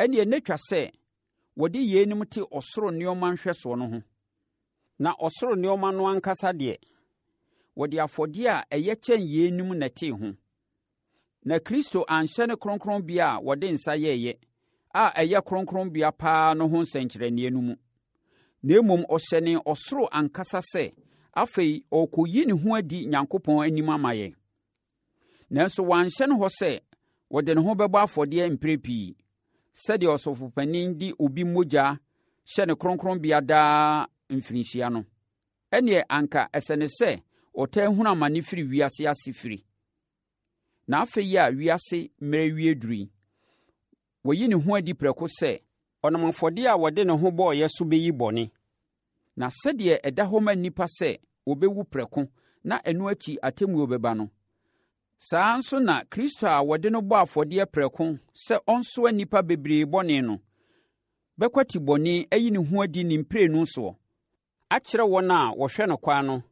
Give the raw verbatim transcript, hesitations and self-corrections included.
Ɛnneɛ na ɛtwa sɛ wɔde yeinom te ɔsoro nneɛma nhwɛsoɔ no ho. Na ɔsoro nneɛma no ankasa deɛ, wɔde afɔdeɛ a ɛyɛ kyɛn yeinom na ɛtee ho. Na Kristo anhyɛne kronkronbea a wɔde nsa yɛeɛ, a ɛyɛ kronkronbea paa no ho nsɛnkyerɛnneɛ no mu. Na mmom, ɔhyɛnee ɔsoro ankasa sɛ afei ɔrekɔyi ne ho adi Nyankopɔn anim ama yɛn. Nanso wanhyɛne hɔ sɛ ɔde ne ho bɛbɔ afɔdeɛ mprɛ pii, sɛdeɛ ɔsɔfopanin de obi mogya hyɛne kronkronbea daa mfirinhyia no. Ɛnneɛ anka ɛsɛ no sɛ ɔtaa hunu amane firi wiase asefire. Na afei a wiase mmerɛ wie duru yi, wayi ne ho adi prɛko sɛ ɔnam afɔdeɛ a ɔde ne ho bɔeɛ so bɛyi bɔne. Na sɛdeɛ ɛda hɔ ma nnipa sɛ wɔbɛwu prɛko na ɛno akyi atemmuo bɛba no, saa ara nso na Kristo a wɔde no bɔɔ afɔdeɛ prɛko sɛ ɔnsoa nnipa bebree bɔne no, bɛkwati bɔne ayi ne ho adi ne mprenu soɔ, akyerɛ wɔn a wɔhwɛ no kwan no